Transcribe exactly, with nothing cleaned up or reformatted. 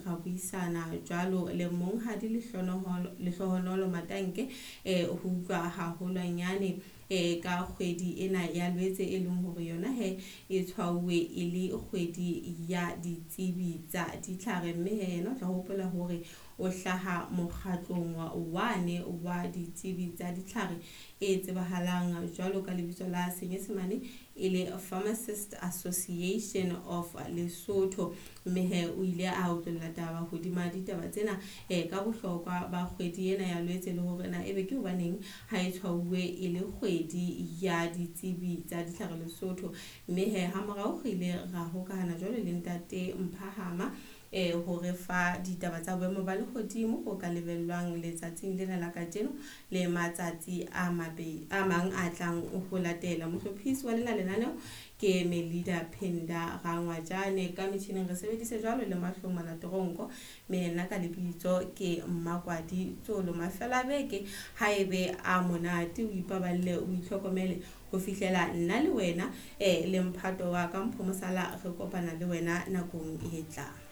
ra buisana jwalo le monghadi Lehlohonolo Matanke eh ho utlwa haholwanyane eh ka kgwedi ena ya Lwetse, e leng hore yona he e tshwauwe e le kgwedi ya ditsebi tsa ditlhare. Mme he yena o tla hopola hore o hlaha mokgatlong wane wa ditsebi tsa ditlhare e tsebahalang jwalo ka lebitso la Senyesemane e le Pharmacist Association of Lesotho. Mme he o ile a otlolla taba hodima ditaba tsena eh ka bohlokwa ba kgwedi ena ya Lwetse, le hore na ebe ke hobaneng ha e tshwauwe e le kgwedi ya ditsebi tsa ditlhare Lesotho. Mme he ha morao re ile ra hokahana jwalo le ntate Mphahama eh hore fa ditaba tsa boemo ba lehodimo bo ka lebellwang letsatsing lena la kajeno le matsatsi a mabe a mang a tlang ho latela. Mohlophisi wa lena lenaneo ke Melida Penda Rangwajane, ka metjhineng re sebedise jwalo le Mahlomona Toronko, mme nna ka lebitso ke Mmakwadi Tsolo. Mafelo a beke ha ebe a monate, o ipaballe, o itlhokomele ho fihlela nna le wena eh le mphato wa ka Mpho Mosala re kopana le wena nakong e tlang.